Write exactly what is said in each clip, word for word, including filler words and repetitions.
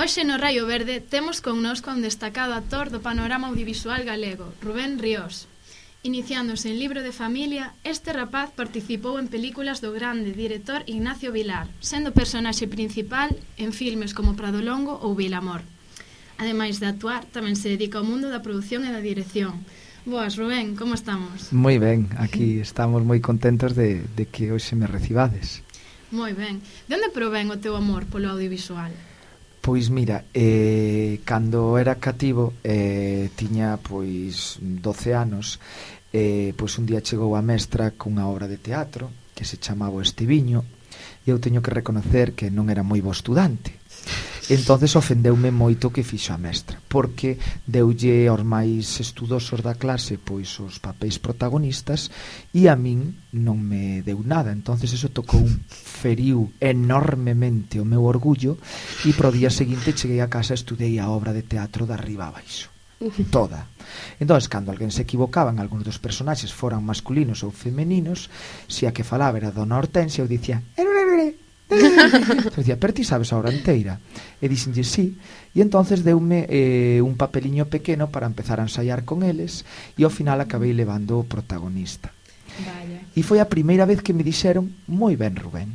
Hoxe no Raio Verde temos connosco un destacado actor do panorama audiovisual galego, Rubén Ríos. Iniciándose en Libro de Familia, este rapaz participou en películas do grande director Ignacio Vilar, sendo personaxe principal en filmes como Pradolongo ou Vilamor. Ademais de actuar, tamén se dedica ao mundo da produción e da dirección. Boas, Rubén, como estamos? Moi ben, aquí estamos moi contentos de, de que hoxe me recibades. Moi ben. De onde provén o teu amor polo audiovisual? Pois mira, eh, cando era cativo, eh, tiña pois doce anos, eh, pois un día chegou a mestra cunha obra de teatro que se chamaba O Estiviño, e eu teño que reconocer que non era moi bo estudante. Entonces ofendeume moito o que fixo a mestra, porque deulle aos máis estudosos da clase pois os papéis protagonistas e a min non me deu nada. Entonces eso tocou, feriu enormemente o meu orgullo, e pro día seguinte cheguei a casa e estudei a obra de teatro de arriba a baixo, toda. Entonces, cando alguén se equivocaba en algúns dos personaxes, foran masculinos ou femeninos, se a que falaba era Dona Hortensia, eu dicía eu dicía, pero ti sabes a obra inteira? E dixenlle sí, e entonces deume eh, un papeliño pequeno para empezar a ensaiar con eles, e ao final acabei levando o protagonista. Vaya. E foi a primeira vez que me dixeron moi ben, Rubén.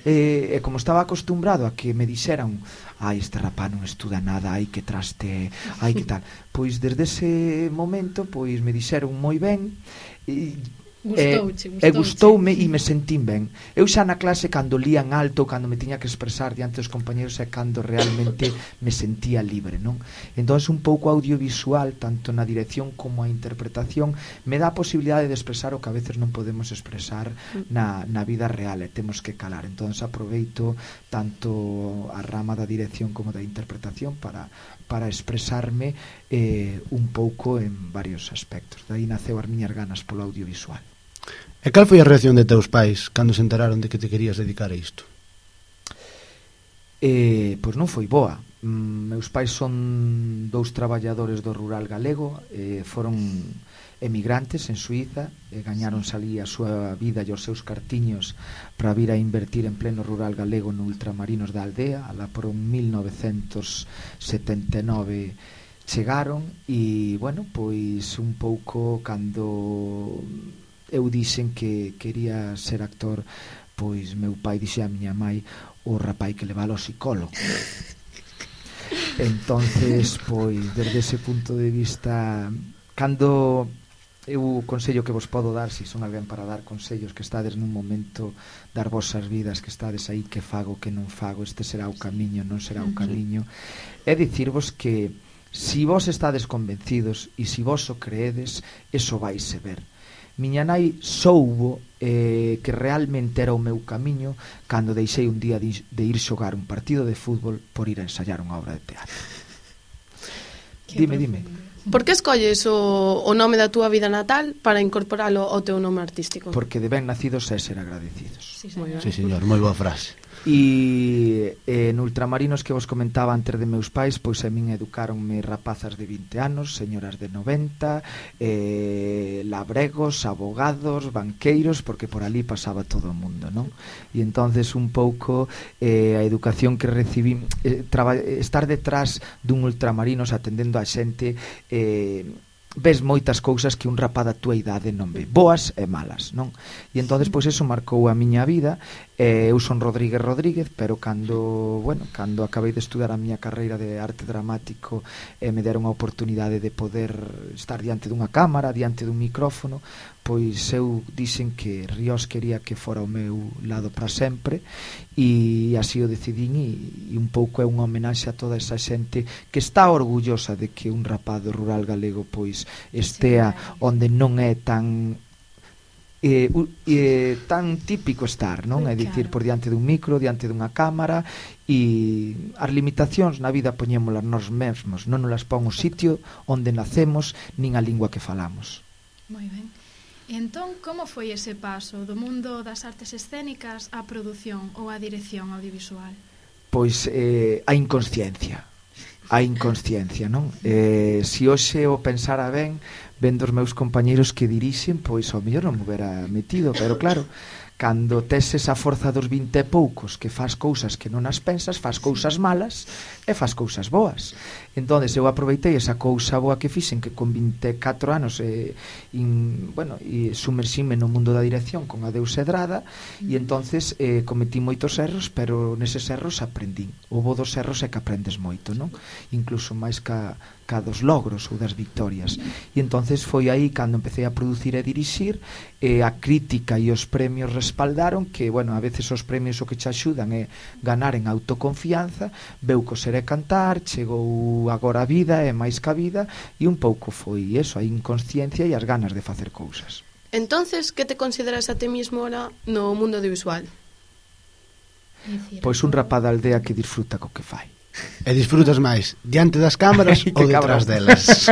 E, e como estaba acostumbrado a que me dixeran ai, este rapaz non estuda nada, ai que traste, ai que tal, pois desde ese momento pois me dixeron moi ben, e Gustouche, e gustoume e me sentín ben. Eu xa na clase, cando lían alto, cando me tiña que expresar diante dos compañeros, é cando realmente me sentía libre, non? Entón, un pouco audiovisual, tanto na dirección como a interpretación, me dá a posibilidade de expresar o que a veces non podemos expresar na, na vida real, e temos que calar. Entón, aproveito tanto a rama da dirección como da interpretación para para expresarme eh, un pouco en varios aspectos. Daí naceu as miñas ganas polo audiovisual. E cal foi a reacción de teus pais cando se enteraron de que te querías dedicar a isto? Eh, pois non foi boa. Mm, meus pais son dous traballadores do rural galego, eh, foron emigrantes en Suiza, e gañaron salí a súa vida e os seus cartiños para vir a invertir en pleno rural galego no ultramarinos da aldea. Alá por mil novecentos setenta e nove chegaron, e, bueno, pois un pouco cando eu dixen que quería ser actor, pois meu pai dixe a miña mai: o rapai que leva ao psicólogo. Entonces, pois, desde ese punto de vista, cando eu o consello que vos podo dar, se son alguén para dar consellos, que estades nun momento dar vosas vidas, que estades aí, que fago, que non fago, este será o camiño, non será o camiño, é dicirvos que si vos estades convencidos e si vos o creedes, eso vaise ver. Miña nai soubo eh, que realmente era o meu camiño cando deixei un día de, de ir xogar un partido de fútbol por ir a ensayar unha obra de teatro. Dime, dime. Por que escolles o, o nome da túa vida natal para incorporalo ao teu nome artístico? Porque de ben nacidos é ser agradecidos. Sí, señor. Sí, señor, moi boa frase. E eh, en ultramarinos que vos comentaba antes de meus pais, pois a min educaronme rapazas de vinte anos, señoras de noventa, eh, labregos, abogados, banqueiros, porque por ali pasaba todo o mundo, non? E entonces un pouco eh, a educación que recibí, eh, traba, estar detrás dun ultramarinos atendendo a xente, eh, ves moitas cousas que un rapaz da túa idade non ve, boas e malas, non? E entonces pois eso marcou a miña vida. Eh, eu son Rodríguez Rodríguez, pero cando, bueno, cando acabei de estudar a miña carreira de arte dramático, eh, me deron a oportunidade de poder estar diante dunha cámara, diante dun micrófono, pois eu dixen que Ríos quería que fora o meu lado para sempre, e así o decidín, e, e un pouco é unha homenaxe a toda esa xente que está orgullosa de que un rapaz do rural galego pois estea onde non é tan eh, eh, tan típico estar, non? É dicir, por diante dun micro, diante dunha cámara, e as limitacións na vida poñémolas nós mesmos, non nos las pon o sitio onde nacemos nin a lingua que falamos. Moi ben. E entón, como foi ese paso do mundo das artes escénicas á produción ou á dirección audiovisual? Pois eh, a inconsciencia. A inconsciencia, non? Eh, si hoxe o pensara ben, vendo os meus compañeiros que dirixen, pois ao mellor non me hubiera metido, pero claro, cando tes esa forza dos vinte e poucos que faz cousas que non as pensas, faz cousas malas e faz cousas boas. Entón, eu aproveitei esa cousa boa que fixen, que con vinte e catro anos eh, in, bueno, e sumerxime no mundo da dirección con a Deus Edrada, e entonces eh, cometí moitos erros, pero neses erros aprendín. O bo dos erros é que aprendes moito, non? Incluso máis ca, ca dos logros ou das victorias. E entonces foi aí cando empecé a producir e dirixir, e a crítica e os premios respaldaron que, bueno, a veces os premios o que che axudan é ganar en autoconfianza, veu coser e cantar, chegou agora a vida e máis que a vida, e un pouco foi eso, a inconsciencia e as ganas de facer cousas. Entonces, que te consideras a ti mismo ahora no mundo audiovisual? Pois un rapaz da aldea que disfruta co que fai. E disfrutas máis diante das cámaras ou detrás delas?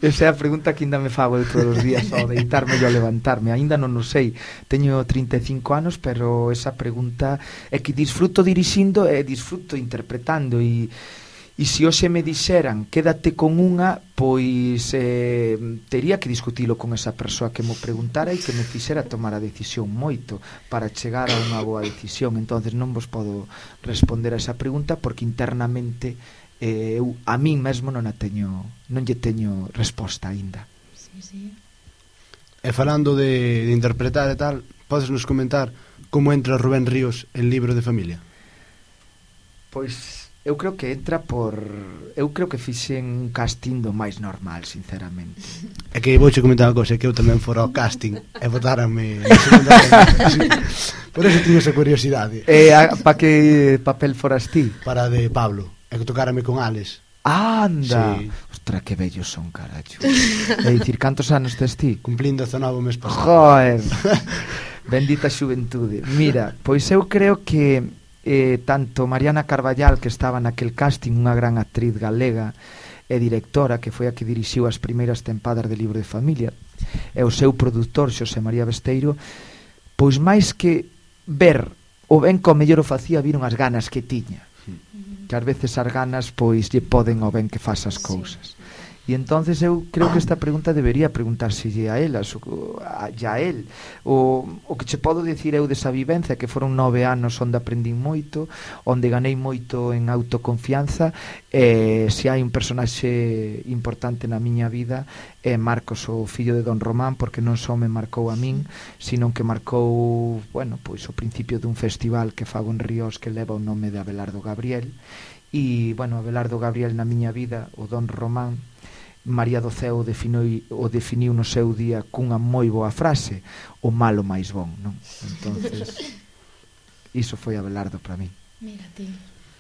Esa é a pregunta que ainda me fago de todos os días ao deitarme e ao levantarme. Ainda non o sei, teño trinta e cinco anos, pero esa pregunta é que disfruto dirixindo e disfruto interpretando. E E se hoxe me dixeran quédate con unha, pois eh, tería que discutilo con esa persoa que mo preguntara e que me fixera tomar a decisión moito para chegar a unha boa decisión. Entonces non vos podo responder a esa pregunta porque internamente eh, eu a min mesmo non a teño, non lle teño resposta aínda. Sí, sí. E falando de, de interpretar e tal, podes nos comentar como entra Rubén Ríos en Libro de Familia? Pois eu creo que entra por... Eu creo que fixen un casting do máis normal, sinceramente. É que vouche comentar unha cousa, que eu tamén fora ao casting e votaranme... Por eso tiño esa curiosidade. E para que papel foras ti? Para de Pablo, e que tocárame con Alex. Anda! Sí. Ostra, que bellos son, caracho. É dicir, cantos anos tes ti? Cumplindo dezanove o mes pasado. Joder! Bendita xuventude. Mira, pois eu creo que eh, tanto Mariana Carballal, que estaba naquel casting, unha gran actriz galega e directora, que foi a que dirixiu as primeiras tempadas de Libro de Familia, e o seu produtor, Xosé María Besteiro, pois máis que ver o ben que o mellor o facía, viron as ganas que tiña, que ás veces as ganas pois lle poden o ben que faz as cousas. E entonces eu creo que esta pregunta debería preguntárselle a elas, a, a él. O, o que che podo dicir eu desa vivencia, que foron nove anos onde aprendín moito, onde ganei moito en autoconfianza, e se hai un personaxe importante na miña vida é Marcos, o fillo de Don Román, porque non só me marcou a min, sino que marcou, bueno, pois o principio dun festival que fago en Ríos que leva o nome de Abelardo Gabriel. E, bueno, Abelardo Gabriel na miña vida, o Don Román, María do Ceo definiu, o definiu no seu día cunha moi boa frase: o malo máis bon, non? Entonces, iso foi Abelardo para mí. Mira ti.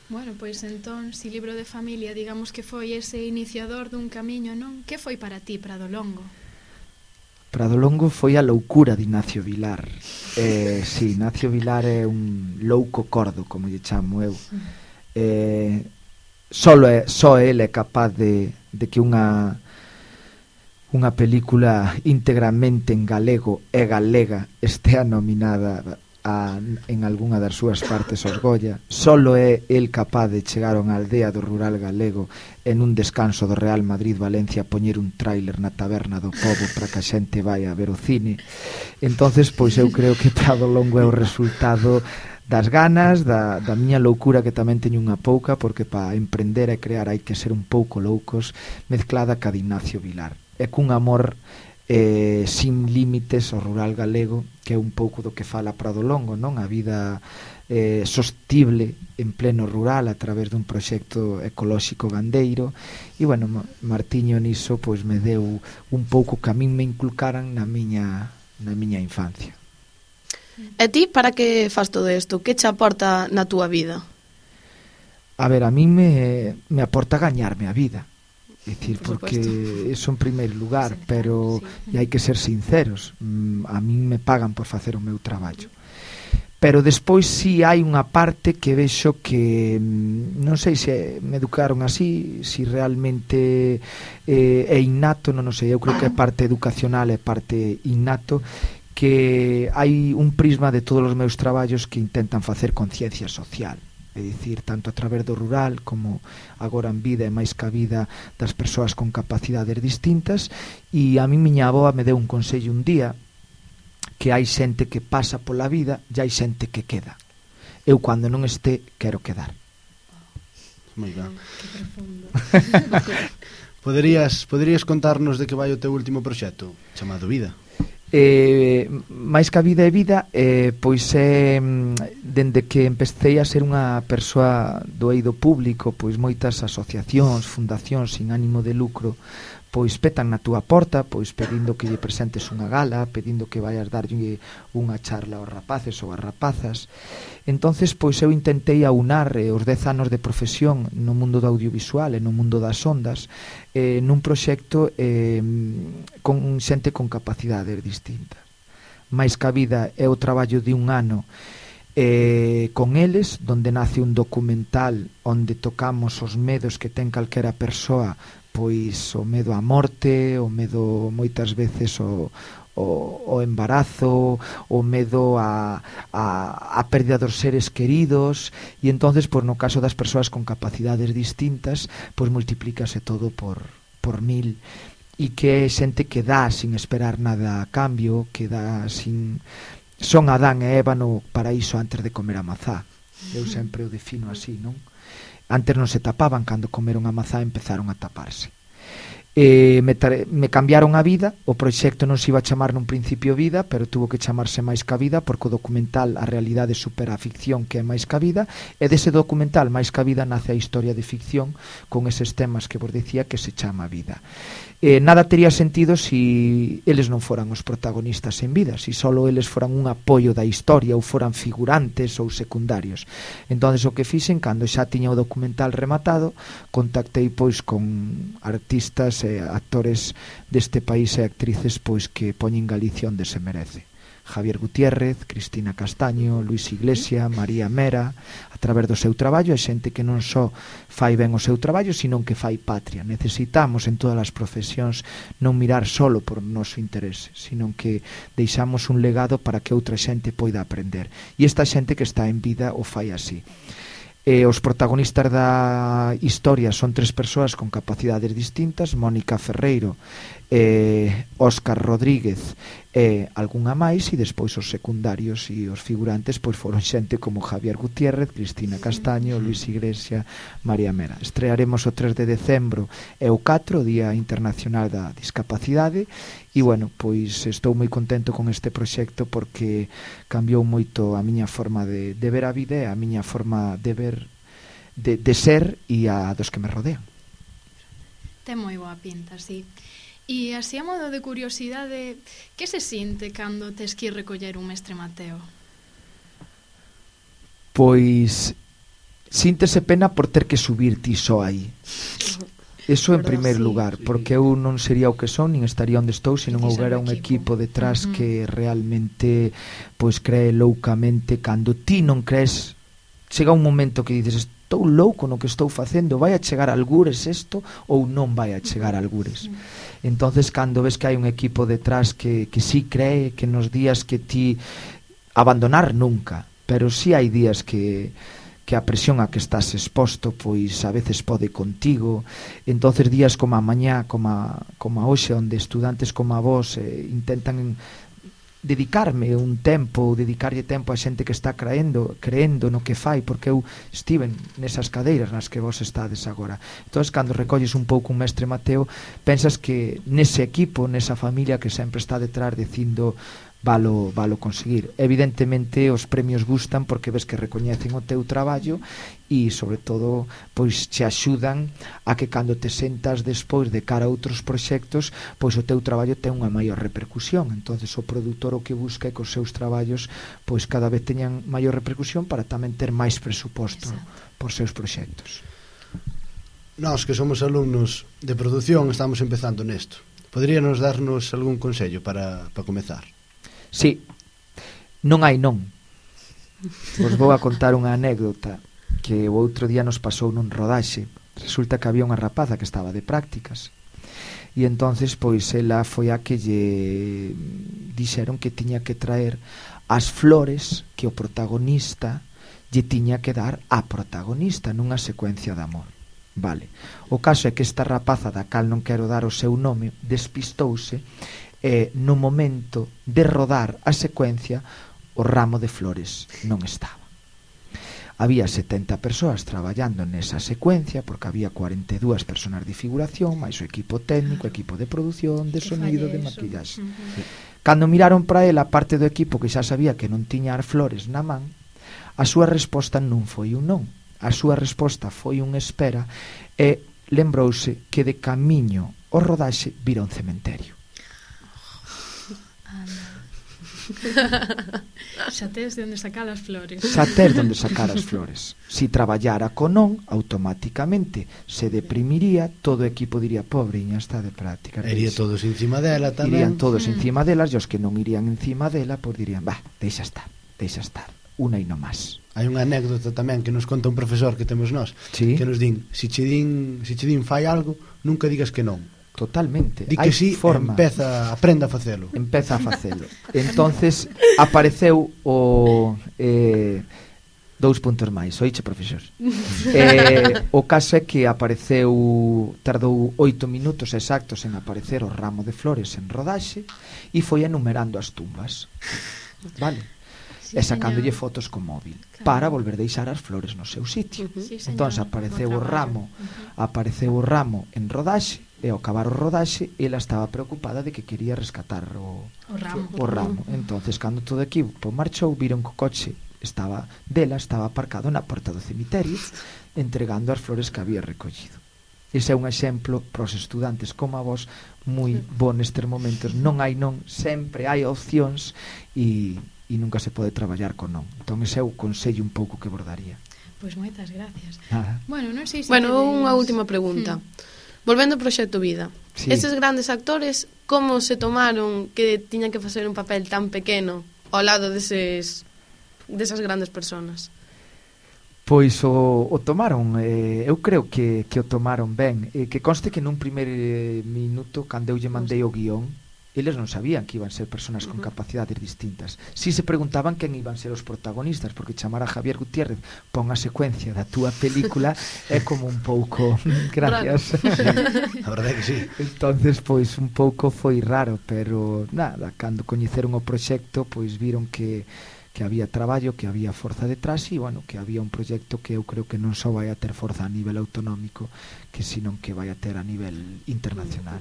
Bueno, pois entón, si Libro de Familia, digamos que foi ese iniciador dun camiño, non? Que foi para ti, Prado Longo? Prado Longo foi a loucura de Ignacio Vilar. Eh, si, Ignacio Vilar é un louco cordo, como lle chamo eu. Eh, solo é, só ele é capaz de, de que unha unha película íntegramente en galego e galega estea nominada a, en algunha das súas partes aos Goya. Solo é el capaz de chegar a unha aldea do rural galego en un descanso do Real Madrid-Valencia a poñer un tráiler na taberna do pobo para que a xente vai a ver o cine. Entonces, pois eu creo que Prado Longo é o resultado das ganas, da, da miña loucura, que tamén teño unha pouca, porque para emprender e crear hai que ser un pouco loucos, mezclada ca de Ignacio Vilar. É cun amor eh, sin límites ao rural galego, que é un pouco do que fala Prado Longo, non? A vida eh, sostible en pleno rural a través dun proxecto ecolóxico gandeiro. E, bueno, Martiño niso pois me deu un pouco que a min me inculcaran na miña, na miña infancia. E ti, para que faz todo isto? Que che aporta na túa vida? A ver, a mí me, me aporta gañarme a vida. É dicir, Por porque supuesto. eso en primeiro lugar, Sí, pero sí. e hai que ser sinceros. Mm, A mí me pagan por facer o meu traballo. Pero despois si hai unha parte que vexo que mm, non sei se me educaron así, si realmente eh, é innato, non o sei, eu creo que é parte educacional e parte innato, que hai un prisma de todos os meus traballos que intentan facer conciencia social, é dicir, tanto a través do rural como agora en vida e máis que a vida das persoas con capacidades distintas. E a mí miña avoa me deu un consello un día, que hai xente que pasa pola vida e hai xente que queda. Eu, cando non este, quero quedar. Moi ben. Que profundo. Poderías, poderías contarnos de que vai o teu último proxecto, chamado Vida? Eh, máis que a vida é vida, eh, pois é dende que empecé a ser unha persoa do eido público, pois moitas asociacións, fundacións sin ánimo de lucro pois petan na túa porta, pois pedindo que lle presentes unha gala, pedindo que vayas darlle unha charla aos rapaces ou ás rapazas. Entonces, pois eu intentei aunar eh, os dez anos de profesión no mundo do audiovisual e no mundo das ondas eh, nun proxecto eh, con xente con capacidades distintas. Mais que a vida é o traballo de un ano eh, con eles, donde nace un documental onde tocamos os medos que ten calquera persoa, pois o medo á morte, o medo moitas veces o, o, o embarazo, o medo a, a, a pérdida dos seres queridos, e entonces, pois, no caso das persoas con capacidades distintas, pois multiplícase todo por, por mil, e que é xente que dá sin esperar nada a cambio, que dá sin... Son Adán e Eva no paraíso antes de comer a mazá. Eu sempre o defino así, non? Antes non se tapaban, cando comeron a mazá empezaron a taparse. Eh, me, me cambiaron a vida, o proxecto non se iba a chamar nun principio Vida, pero tuvo que chamarse Máis que a Vida, porque o documental a realidade supera a ficción, que é Máis que a Vida, e dese documental Máis que a Vida nace a historia de ficción con eses temas que vos dicía que se chama Vida. Eh, nada tería sentido si eles non foran os protagonistas en vida, si solo eles foran un apoio da historia ou foran figurantes ou secundarios. Entonces o que fixen, cando xa tiña o documental rematado, contactei pois con artistas e actores deste país e actrices pois que poñen Galicia onde se merece. Javier Gutiérrez, Cristina Castaño, Luis Iglesia, María Mera, a través do seu traballo, a xente que non só fai ben o seu traballo, sino que fai patria. Necesitamos en todas as profesións non mirar solo por noso interese, sino que deixamos un legado para que outra xente poida aprender. E esta xente que está en vida o fai así. E os protagonistas da historia son tres persoas con capacidades distintas: Mónica Ferreiro, eh, Óscar Rodríguez e algunha máis, e despois os secundarios e os figurantes pois foron xente como Javier Gutiérrez, Cristina Castaño, Luis Iglesia, María Mera. Estrearemos o tres de decembro e o catro, o Día Internacional da Discapacidade, e bueno, pois estou moi contento con este proxecto porque cambiou moito a miña forma de, de ver a vida e a miña forma de ver, de, de ser e a dos que me rodean. Ten moi boa pinta, sí. E así a modo de curiosidade, que se sinte cando tes que ir recoller un mestre Mateo? Pois síntese pena por ter que subir ti só aí. Eso en primeiro lugar, porque eu non sería o que son, nin estaría onde estou se non houbera un equipo detrás que realmente pois cree loucamente. Cando ti non crees, chega un momento que dices: estou louco no que estou facendo, vai a chegar a algures isto ou non vai a chegar a algures. Entonces, cando ves que hai un equipo detrás que, que sí cree, que nos días que ti abandonar nunca, pero sí hai días que que a presión a que estás exposto pois a veces pode contigo. Entonces días como a mañá, como a, como a hoxe, onde estudantes como a vos eh, intentan dedicarme un tempo, ou dedicarlle tempo a xente que está creendo, creendo no que fai, porque eu estive nesas cadeiras nas que vos estades agora. Entón, cando recolles un pouco un mestre Mateo, pensas que nese equipo, nesa familia que sempre está detrás dicindo valo, valo conseguir. Evidentemente os premios gustan porque ves que recoñecen o teu traballo e, sobre todo, pois te axudan a que cando te sentas despois de cara a outros proxectos, pois o teu traballo ten unha maior repercusión. Entonces o produtor o que busca é que os seus traballos pois cada vez teñan maior repercusión para tamén ter máis presuposto por seus proxectos. Nós que somos alumnos de produción estamos empezando nesto. Poderíanos darnos algún consello para, para comezar? Sí, non hai non. Vos vou a contar unha anécdota que o outro día nos pasou nun rodaxe. Resulta que había unha rapaza que estaba de prácticas e entonces pois ela foi a que lle dixeron que tiña que traer as flores que o protagonista lle tiña que dar á protagonista nunha secuencia de amor. Vale. O caso é que esta rapaza, da cal non quero dar o seu nome, despistouse e no momento de rodar a secuencia o ramo de flores non estaba. Había setenta persoas traballando nesa secuencia, porque había cuarenta e dúas persoas de figuración, máis o equipo técnico, equipo de produción, de sonido, de maquillaxe. Uh -huh. Cando miraron para ela, parte do equipo que xa sabía que non tiña as flores na man, a súa resposta non foi un non. A súa resposta foi un espera e lembrouse que de camiño ao rodaxe vira un cementerio. Xa tes de onde sacar as flores. Xa tes de onde sacar as flores. Si traballara con non, automáticamente se deprimiría, todo o equipo diría, pobriña, está de práctica. Iría todos encima dela tamén. Irían todos mm. encima delas, e os que non irían encima dela, pois dirían, bah, deixa estar, deixa estar, unha e non máis. Hai unha anécdota tamén que nos conta un profesor que temos nós, sí. que nos din, si che din, si che din fai algo, nunca digas que non. Totalmente. Di que si, forma. Empeza, aprenda a facelo. Empeza a facelo. Entonces apareceu o eh, dous puntos máis. Oiche, profesor. eh, o caso é que apareceu, tardou oito minutos exactos en aparecer o ramo de flores en rodaxe e foi enumerando as tumbas. Vale? Sí, e sacándolle señor. Fotos con móvil, claro, para volver deixar as flores no seu sitio. Uh -huh. Sí, entón apareceu o ramo, uh -huh. apareceu o ramo en rodaxe. E ao acabar o rodaxe, ela estaba preocupada de que quería rescatar o, o ramo. O ramo. Entonces, cando todo o equipo marchou, viron que o coche estaba dela estaba aparcado na porta do cemiterio, entregando as flores que había recollido. Ese é un exemplo para os estudantes como a vos moi bo nestes momentos. Non hai non, sempre hai opcións e, e nunca se pode traballar con non. Entón, ese é o consello un pouco que bordaría. Pois moitas gracias. Ah. Bueno, non sei se Bueno, tenéis... unha última pregunta. Hmm. Volvendo ao Proxecto Vida, sí. Eses grandes actores, como se tomaron que tiñan que facer un papel tan pequeno ao lado deses, desas grandes personas? Pois o, o tomaron, eh, eu creo que, que o tomaron ben. Eh, que conste que nun primer eh, minuto, cando eu lle mandei o guión, eles non sabían que iban ser personas con capacidades distintas. Si se preguntaban quen iban ser os protagonistas, porque chamar a Javier Gutiérrez pon a secuencia da túa película é como un pouco gracias. Sí, a verdade é que sí. Entonces, pois un pouco foi raro, pero nada, cando coñeceron o proxecto, pois viron que que había traballo, que había forza detrás e, bueno, que había un proxecto que eu creo que non só vai a ter forza a nivel autonómico, que senón que vai a ter a nivel internacional.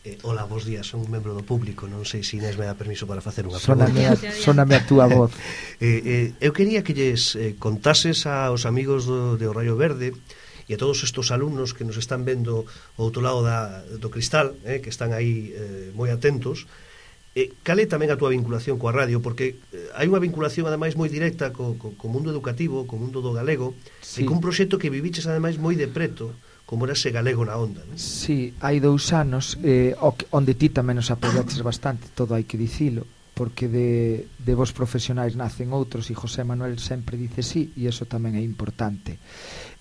Eh, hola, bons días, son un membro do público, non sei se Inés me dá permiso para facer unha Sóname pregunta. A, sóname a túa voz. eh, eh, eu quería que lles eh, contases aos amigos do, de O Rayo Verde e a todos estes alumnos que nos están vendo ao outro lado da, do cristal, eh, que están aí eh, moi atentos, eh, cal é tamén a túa vinculación coa radio, porque eh, hai unha vinculación ademais moi directa co, co, co mundo educativo, co mundo do galego, sí. E con un proxecto que viviches ademais moi de preto, como era ese galego na onda, non? Sí, hai dous anos eh, onde ti tamén nos apoiaches bastante, todo hai que dicilo, porque de, de vos profesionais nacen outros e José Manuel sempre dice sí, e iso tamén é importante.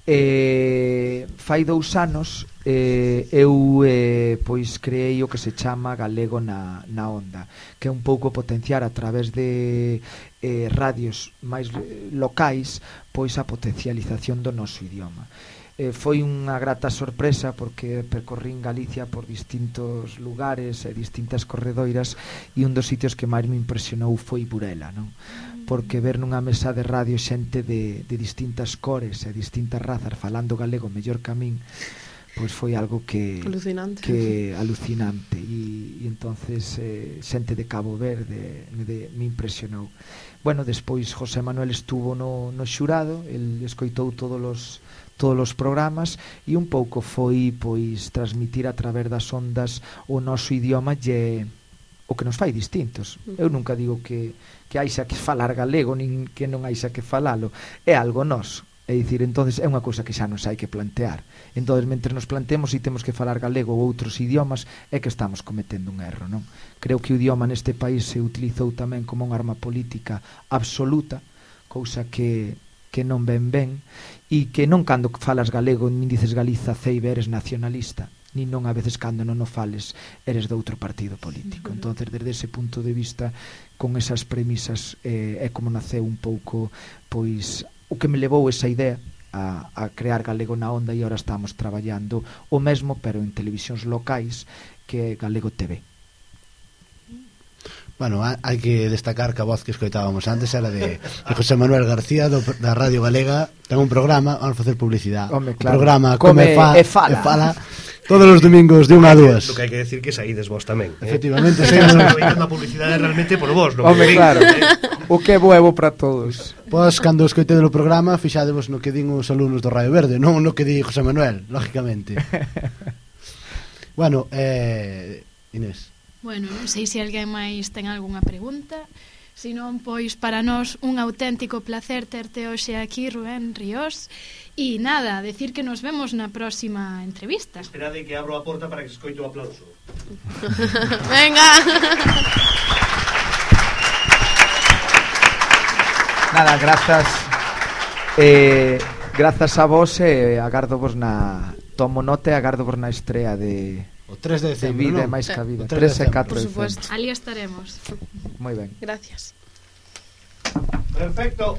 Eh, fai dous anos eh, eu eh, pois creei o que se chama Galego na, na Onda, que é un pouco potenciar a través de eh, radios máis locais pois a potencialización do noso idioma. Eh, foi unha grata sorpresa porque percorrín Galicia por distintos lugares e distintas corredoiras e un dos sitios que máis me impresionou foi Burela, non? Porque ver nunha mesa de radio xente de, de distintas cores e distintas razas falando galego mellor que a min, pois foi algo que alucinante, que alucinante e, e entonces eh, xente de Cabo Verde me, de, me impresionou. Bueno, despois José Manuel estuvo no, no xurado, el escoitou todos os todos os programas e un pouco foi pois transmitir a través das ondas o noso idioma lle o que nos fai distintos. Eu nunca digo que, que haixa que falar galego nin que non haixa que falalo, é algo noso. É dicir, entonces é unha cousa que xa nos hai que plantear. Entonces, mentre nos planteemos se temos que falar galego ou outros idiomas, é que estamos cometendo un erro, non? Creo que o idioma neste país se utilizou tamén como unha arma política absoluta, cousa que que non ven ben, e que non cando falas galego nin dices Galiza ceibe eres nacionalista, nin non a veces cando non o fales eres de outro partido político. Entonces, desde ese punto de vista, con esas premisas eh, é como naceu un pouco pois o que me levou esa idea a, a crear Galego na Onda, e agora estamos traballando o mesmo pero en televisións locais, que é Galego T V. Bueno, hai que destacar que a voz que escoitábamos antes era de, de José Manuel García do, da Radio Galega. Ten un programa, vamos facer publicidade. Home, O claro. programa Come, Come, fa, e fala. e fala todos os domingos de unha a dúas. Lo que hai que decir que saídes vos tamén, eh? Efectivamente, Se seguimos. aproveitando a publicidade realmente por vos, non? Home, claro. O que é bo é bo para todos. Pois, cando escoitede o programa, fixadevos no que din os alumnos do Radio Verde, non no que di José Manuel, lógicamente. Bueno, eh, Inés. Bueno, non sei se alguén máis ten algunha pregunta. Se non, pois para nós un auténtico placer terte hoxe aquí, Rubén Ríos. E nada, decir que nos vemos na próxima entrevista. Esperade que abro a porta para que se escoite o aplauso. Venga. Nada, grazas eh, grazas a vos e eh, agardo vos na tomo nota e agardo vos na estrea de O tres de de decembro, vida e non? máis que a vida, O tres de tres e catro Por de supuesto. decembro. Ali estaremos. Moi ben. Gracias. Perfecto.